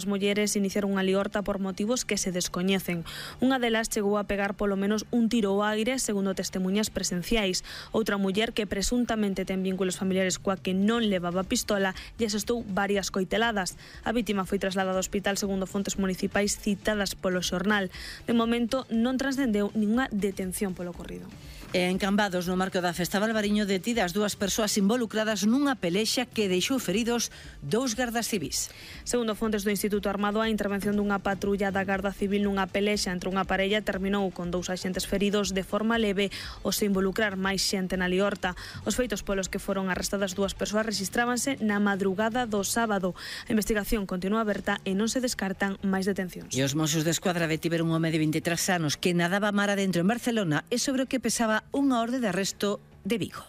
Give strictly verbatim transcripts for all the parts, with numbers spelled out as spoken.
As mulleres iniciaron unha liorta por motivos que se descoñecen. Unha delas chegou a pegar polo menos un tiro ao aire, segundo testemunhas presenciais. Outra muller que presuntamente ten vínculos familiares coa que non levaba pistola e asestou varias coiteladas. A vítima foi trasladada ao hospital segundo fontes municipais citadas polo xornal. De momento non transcendeu ningunha detención polo ocorrido. En Cambados, no marco da Festa Valvariño, detidas dúas persoas involucradas nunha pelexa que deixou feridos dous gardas civís. Segundo fontes do Instituto Armado, a intervención dunha patrulla da Garda Civil nunha pelexa entre unha parella terminou con dous axentes feridos de forma leve ou se involucrar máis xente na liorta. Os feitos polos que foron arrestadas dúas persoas rexistrábanse na madrugada do sábado. A investigación continúa aberta e non se descartan máis detencións. E os Mossos de Escuadra detiveron un home de vinte e tres anos que nadaba mar adentro en Barcelona e sobre o que pesaba unha orde de arresto de Vigo.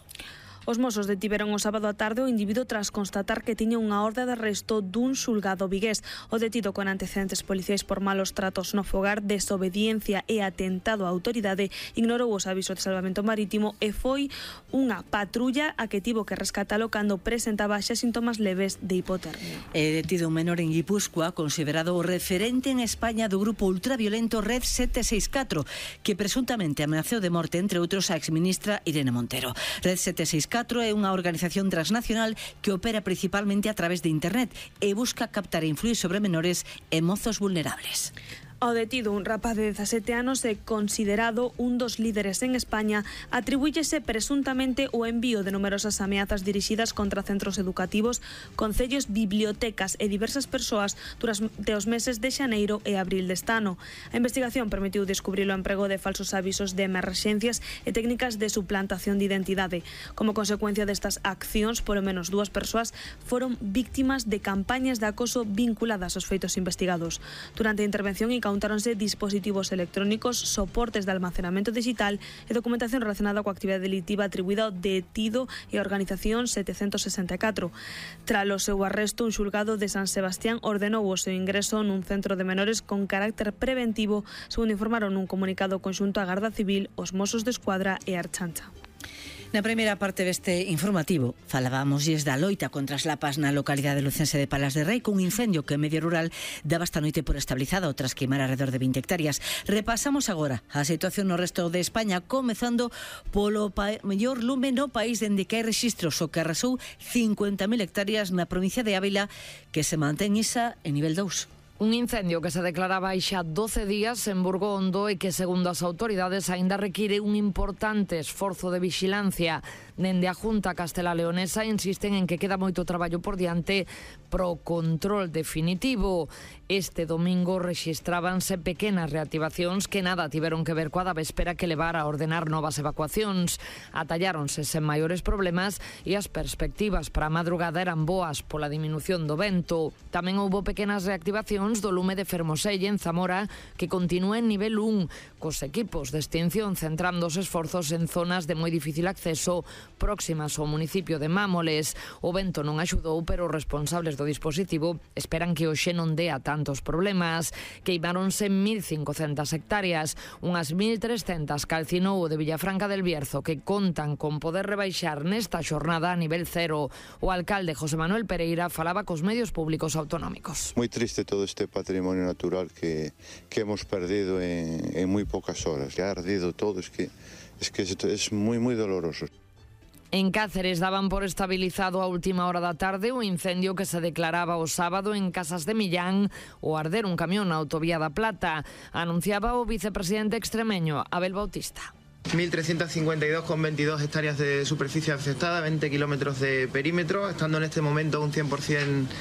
Os Mossos detiveron o sábado á tarde o individuo tras constatar que tiña unha orde de arresto dun xulgado vigués. O detido con antecedentes policiais por malos tratos no fogar, desobediencia e atentado á autoridade ignorou os avisos de salvamento marítimo e foi unha patrulla a que tivo que rescatalo cando presentaba xa síntomas leves de hipotermia. É detido un menor en Guipúzcoa, considerado o referente en España do grupo ultraviolento Red sete seis catro, que presuntamente amenazou de morte, entre outros, a exministra Irene Montero. Red sete seis catro é unha organización transnacional que opera principalmente a través de internet e busca captar e influir sobre menores e mozos vulnerables. Ao detido, un rapaz de dezasete anos e considerado un dos líderes en España, atribúllese presuntamente o envío de numerosas ameazas dirixidas contra centros educativos, concellos, bibliotecas e diversas persoas durante os meses de xaneiro e abril deste ano. A investigación permitiu descubrir o emprego de falsos avisos de emerxencias e técnicas de suplantación de identidade. Como consecuencia destas accións, polo menos dúas persoas foron víctimas de campañas de acoso vinculadas aos feitos investigados. Durante a intervención e Contáronse dispositivos electrónicos, soportes de almacenamento digital e documentación relacionada coa actividade delictiva atribuída ao detido e a organización setecentos sesenta e catro. Tras o seu arresto, un xulgado de San Sebastián ordenou o seu ingreso nun centro de menores con carácter preventivo, segundo informaron nun comunicado conxunto a Garda Civil, os Mossos de Escuadra e a Ertzaintza. Na primeira parte deste informativo falábamos da loita contra as lapas na localidade lucense de Palas de Rei, cun incendio que en medio rural daba esta noite por estabilizado tras queimar alrededor de vinte hectáreas. Repasamos agora a situación no resto de España, comezando polo mellor lume no país dende que hai rexistros, o que arrasou cincuenta mil hectáreas na provincia de Ávila, que se mantén isa en nivel dous. Un incendio que se declaraba hai xa doce días en Burgondo e que, segundo as autoridades, aínda require un importante esforzo de vixilancia. Dende a Junta Castela Leonesa insisten en que queda moito traballo por diante pro control definitivo. Este domingo rexistrábanse pequenas reactivacións que nada tiveron que ver coa da véspera que levara a ordenar novas evacuacións. Atalláronse sen maiores problemas e as perspectivas para a madrugada eran boas pola diminución do vento. Tamén houbo pequenas reactivacións do lume de Fermoselle en Zamora, que continúa en nivel un, cos equipos de extinción centrando os esforzos en zonas de moi difícil acceso próximas ao municipio de Mámoles. O vento non axudou, pero os responsables do dispositivo esperan que hoxe non dea tantos problemas. Queimáronse mil cincocentas hectáreas, unhas mil trescentas calcinou o de Villafranca del Bierzo, que contan con poder rebaixar nesta xornada a nivel cero. O alcalde José Manuel Pereira falaba cos medios públicos autonómicos. Moi triste todo este patrimonio natural que, que hemos perdido en, en muy pocas horas. Ya ha ardido todo, es que es, que es, es muy, muy doloroso. En Cáceres daban por estabilizado a última hora da tarde o incendio que se declaraba o sábado en Casas de Millán o arder un camión na autovía da Plata. Anunciaba o vicepresidente extremeño, Abel Bautista. mil trescientas cincuenta y dos coma veintidós hectáreas de superficie afectada, veinte kilómetros de perímetro, estando en este momento un cien por ciento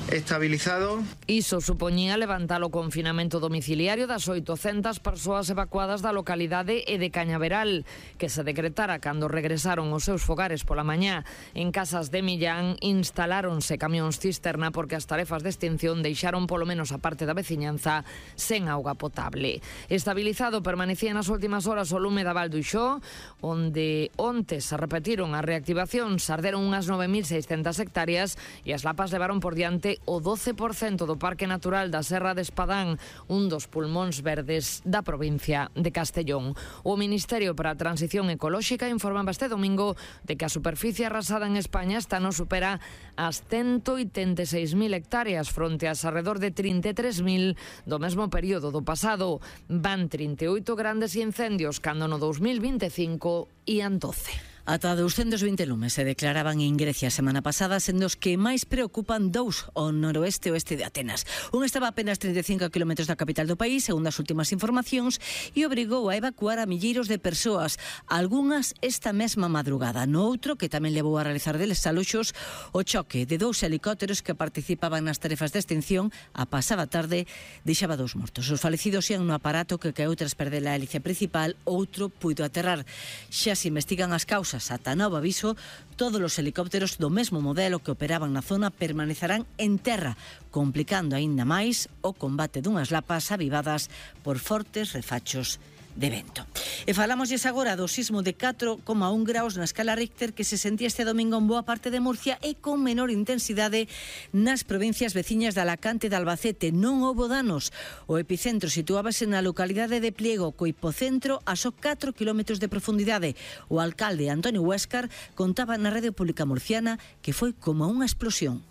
estabilizado. Iso supoñía levantar o confinamento domiciliario das oitocentas persoas evacuadas da localidade e de Cañaveral, que se decretara cando regresaron aos seus fogares pola mañá. En Casas de Millán instaláronse camións cisterna porque as tarefas de extinción deixaron polo menos a parte da veciñanza sen auga potable. Estabilizado permanecía nas últimas horas o lume da Val do Ixó, onde onte se repetiron as reactivacións, arderon unhas nove mil seiscentas hectáreas e as lapas levaron por diante o doce por cento do Parque Natural da Serra de Espadán, un dos pulmóns verdes da provincia de Castellón. O Ministerio para a Transición Ecolóxica informaba este domingo de que a superficie arrasada en España esta non supera as ciento oitenta e seis mil hectáreas fronte ás alrededor de trinta e tres mil do mesmo período do pasado. Van trinta e oito grandes incendios cando no dous mil vinte e cinco ían doce. Ata douscentos vinte lumes se declaraban en Grecia a semana pasada, sendo os que máis preocupan dous ao noroeste e oeste de Atenas. Un estaba a apenas trinta e cinco kilómetros da capital do país, segundo as últimas informacións, e obrigou a evacuar a milleiros de persoas, algunhas esta mesma madrugada. No outro, que tamén levou a realizar desaloxos, o choque de dous helicópteros que participaban nas tarefas de extinción a pasada tarde deixaba dous mortos. Os falecidos ian no aparato que caeu tras perder a hélice principal, outro puido aterrar. Xa se investigan as causas. Ata novo aviso, todos os helicópteros do mesmo modelo que operaban na zona permanecerán en terra, complicando aínda máis o combate dunhas lapas avivadas por fortes refachos de vento. E falámoslles agora do sismo de catro coma un graus na escala Richter que se sentía este domingo en boa parte de Murcia e con menor intensidade nas provincias veciñas de Alacante e de Albacete. Non houbo danos. O epicentro situábase na localidade de Pliego, co hipocentro a só catro kilómetros de profundidade. O alcalde Antonio Huéscar contaba na Radio Pública Murciana que foi como unha explosión.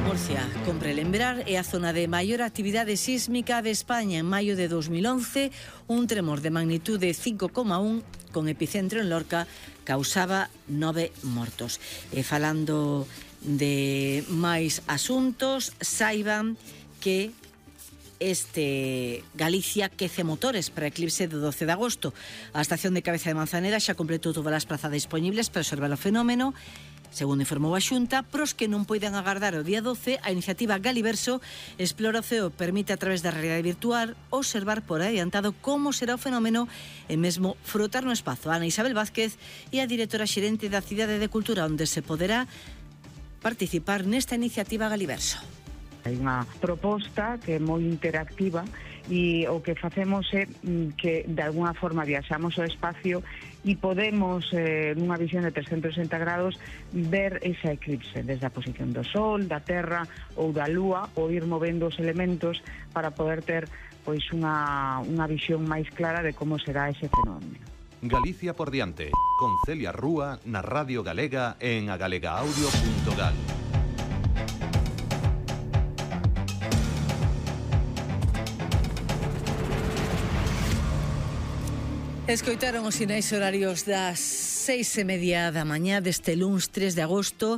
Murcia, compre lembrar, é a zona de maior actividade sísmica de España. En maio de dos mil once, un tremor de magnitude cinco coma un con epicentro en Lorca causaba nove mortos. E falando de máis asuntos, saiban que este Galicia quece motores para eclipse do doce de agosto. A estación de Cabeza de Manzanera xa completou todas as prazas disponibles para observar o fenómeno. Segundo informou a Xunta, pros que non poidan agardar o día doce, a iniciativa Galiverso Explora o Ceo permite a través da realidade virtual observar por adiantado como será o fenómeno e mesmo frotar no espazo. Ana Isabel Vázquez é a directora xerente da Cidade de Cultura, onde se poderá participar nesta iniciativa Galiverso. Hai unha proposta que é moi interactiva e o que facemos é que de alguna forma viaxamos ao espacio e podemos, eh, nunha visión de trescentos sesenta grados, ver esa eclipse desde a posición do Sol, da Terra ou da Lúa, ou ir movendo os elementos para poder ter pois unha, unha visión máis clara de como será ese fenómeno. Galicia por diante, con Celia Rúa na Radio Galega en agalega-audio punto gal. Escoitaron os sinais horarios das seis e media da mañá deste luns tres de agosto,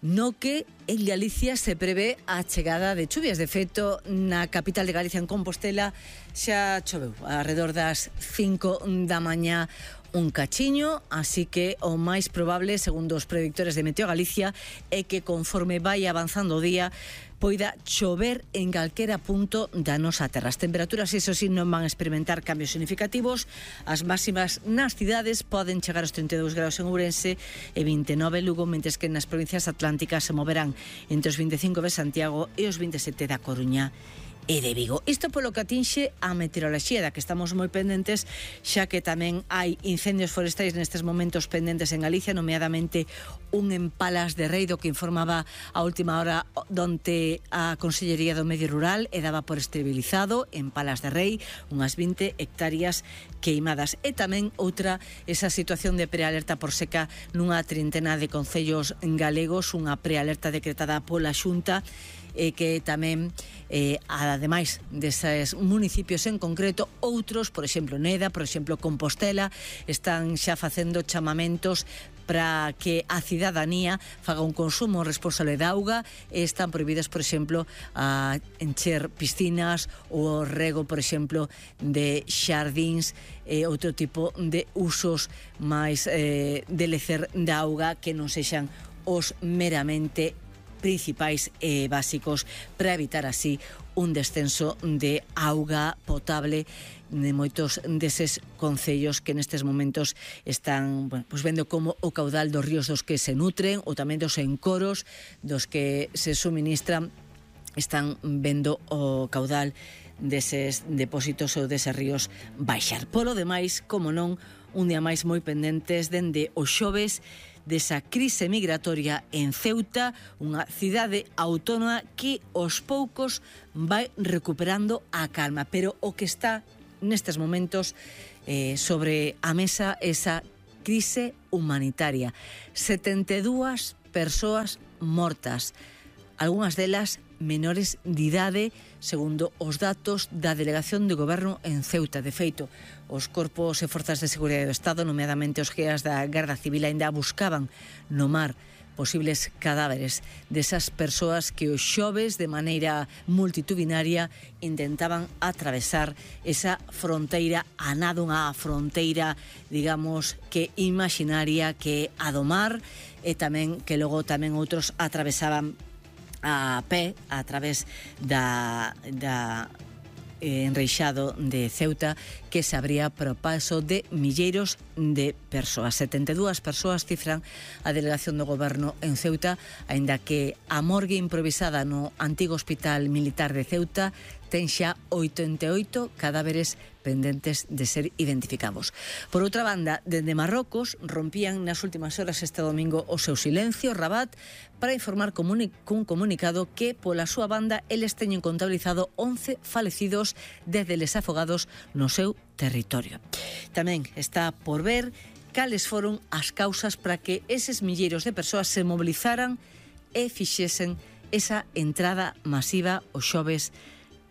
no que en Galicia se prevé a chegada de chuvias. De feito, na capital de Galicia, en Compostela, xa choveu alrededor das cinco da mañá un cachiño, así que o máis probable, segundo os predictores de Meteo Galicia, é que conforme vai avanzando o día, poida chover en calquera punto da nosa terra. As temperaturas, iso sí, non van a experimentar cambios significativos. As máximas nas cidades poden chegar aos trinta e dous graus en Ourense e vinte e nove en Lugo, mentres que nas provincias atlánticas se moverán entre os vinte e cinco de Santiago e os vinte e sete da Coruña e de Vigo. Isto polo que atinxe a meteoroloxía, da que estamos moi pendentes, xa que tamén hai incendios forestais nestes momentos pendentes en Galicia, nomeadamente un en Palas de Rei, do que informaba a última hora donde a Consellería do Medio Rural e daba por estabilizado en Palas de Rei unhas vinte hectáreas queimadas. E tamén outra, esa situación de prealerta por seca nunha trintena de concellos galegos, unha prealerta decretada pola Xunta, e que tamén, eh, ademais deses municipios en concreto, outros, por exemplo Neda, por exemplo Compostela, están xa facendo chamamentos para que a cidadanía faga un consumo responsable de auga e están prohibidas, por exemplo, a encher piscinas ou o rego, por exemplo, de xardíns e outro tipo de usos máis eh, de lecer de auga que non sexan os meramente principais e básicos, para evitar así un descenso de auga potable de moitos deses concellos que nestes momentos están, bueno, pues vendo como o caudal dos ríos dos que se nutren ou tamén dos encoros dos que se suministran están vendo o caudal deses depósitos ou deses ríos baixar. Polo demais, como non, un día máis moi pendentes dende o xoves desa crise migratoria en Ceuta, unha cidade autónoma que aos poucos vai recuperando a calma, pero o que está nestes momentos eh, sobre a mesa esa crise humanitaria. setenta e dúas persoas mortas, algunhas delas menores de idade, segundo os datos da Delegación de Goberno en Ceuta. De feito, os corpos e forzas de seguridade do Estado, nomeadamente os guías da Garda Civil, ainda buscaban no mar posibles cadáveres desas persoas que os xoves de maneira multitudinaria intentaban atravesar esa fronteira, a nado unha fronteira, digamos, que imaginaria, que a do mar, e tamén que logo tamén outros atravesaban a pé a través da, da eh, enreixado de Ceuta, que se abría para o paso de milleiros de persoas. setenta e dúas persoas cifran a Delegación do Goberno en Ceuta, aínda que a morgue improvisada no antigo Hospital Militar de Ceuta ten xa oitenta e oito cadáveres pendentes de ser identificados. Por outra banda, dende Marrocos rompían nas últimas horas este domingo o seu silencio Rabat para informar comuni- cun comunicado que pola súa banda eles teñen contabilizado once falecidos desde les afogados no seu territorio. Tamén está por ver cales foron as causas para que eses milleiros de persoas se mobilizaran e fixesen esa entrada masiva os xoves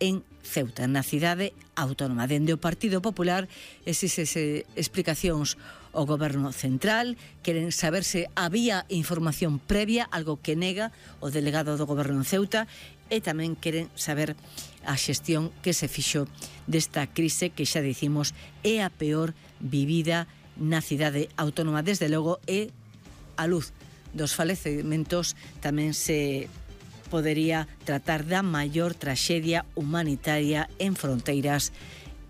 en Ceuta, na cidade autónoma. Dende o Partido Popular existen explicacións ao Goberno Central, queren saber se había información previa, algo que nega o delegado do Goberno en Ceuta, e tamén queren saber a xestión que se fixo desta crise que xa dicimos é a peor vivida na cidade autónoma, desde logo, e a luz dos falecementos tamén se podería tratar da maior traxedia humanitaria en fronteiras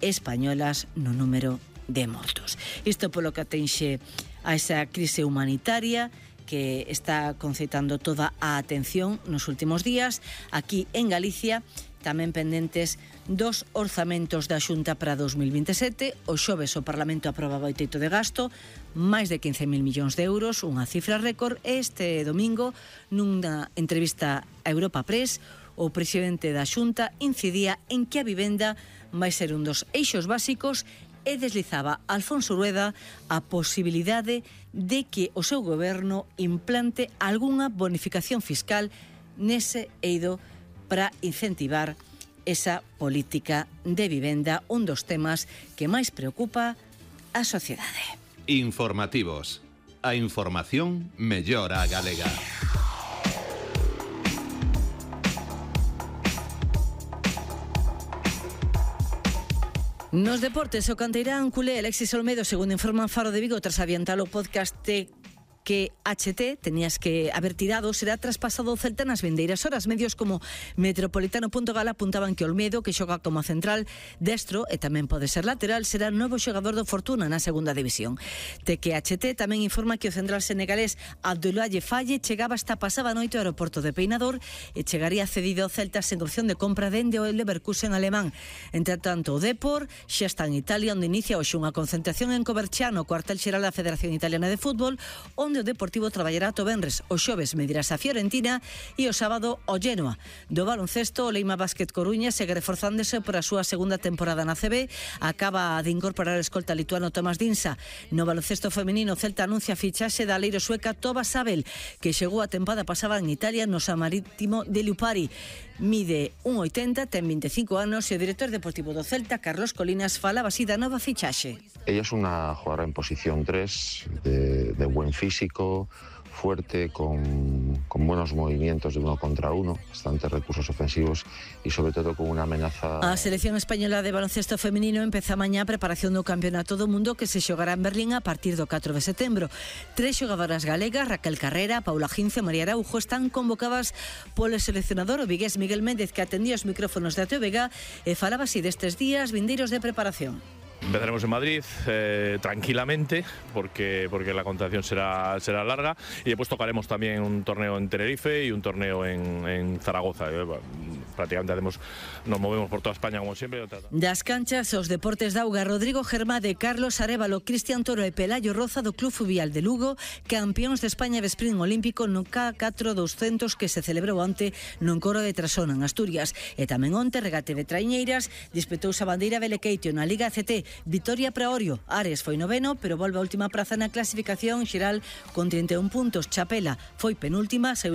españolas no número de mortos. Isto polo que atenxe a esa crise humanitaria que está concitando toda a atención nos últimos días. Aquí en Galicia, tamén pendentes dos orzamentos da Xunta para dos mil vinte e sete. O xoves o Parlamento aprobaba o teito de gasto, máis de quince mil millóns de euros, unha cifra récord. Este domingo, nunha entrevista a Europa Press, o presidente da Xunta incidía en que a vivenda vai ser un dos eixos básicos e deslizaba Alfonso Rueda a posibilidade de que o seu goberno implante algunha bonificación fiscal nese eido para incentivar esa política de vivenda, un dos temas que máis preocupa a sociedade. Informativos. A información mellora a galega. Nos deportes, o canteirán culé Alexis Olmedo, segundo informan Faro de Vigo, tras adiantar o podcast de que H T tenías que haber tirado, será traspasado ao Celta nas vindeiras horas. Medios como Metropolitano punto gal apuntaban que Olmedo, que xoga como central destro e tamén pode ser lateral, será novo xogador do Fortuna na segunda división. T que H T tamén informa que o central senegalés Abdoulaye Faye chegaba esta pasada noite ao aeroporto de Peinador e chegaría cedido ao Celta sen opción de compra dende o Leverkusen alemán. Entre tanto, o Depor xa está en Italia, onde inicia hoxe unha concentración en Coverciano, cuartel xeral da Federación Italiana de Fútbol, onde o Deportivo traballará to venres. O xoves medirás a Fiorentina e o sábado o Genoa. Do baloncesto, o Leima Basket Coruña segue reforzándose por a súa segunda temporada na C B. Acaba de incorporar a escolta lituano Tomás Dinsa. No baloncesto feminino, Celta anuncia a fichaxe da aleiro sueca Toba Sabel, que chegou a tempada pasada en Italia no San Marítimo de Liupari. Mide un oitenta, ten vinte e cinco anos e o director deportivo do Celta, Carlos Colinas, falaba así da nova fichaxe. Ella es una jugadora en posición tres, de, de buen físico, fuerte, con, con buenos movimientos de uno contra uno, bastantes recursos ofensivos y sobre todo con una amenaza... A selección española de baloncesto femenino empeza mañá a preparación do Campeonato do Mundo que se xogará en Berlín a partir do catro de setembro. Tres xogadoras galegas, Raquel Carrera, Paula Gince e María Araujo, están convocadas polo seleccionador o vigués Miguel Méndez, que atendía os micrófonos de A T V G e falaba así destes días vindeiros de preparación. Empezaremos en Madrid eh, tranquilamente porque, porque la contratación será, será larga y después tocaremos también un torneo en Tenerife y un torneo en, en Zaragoza. prácticamente hacemos, nos movemos por toda España como siempre. Das canchas os deportes da auga, Rodrigo Germade, Carlos Arévalo, Cristian Toro e Pelayo Roza do Club Fluvial de Lugo, campións de España de sprint olímpico no K catro doscientos que se celebrou onte no encoro de Trasona, en Asturias. E tamén onte, regate de traiñeiras, dispetouse a bandeira Belequeitio na Liga C T. Vitoria para Orio, Ares foi noveno, pero volve a última praza na clasificación xeral con trinta e un puntos. Chapela foi penúltima, saiu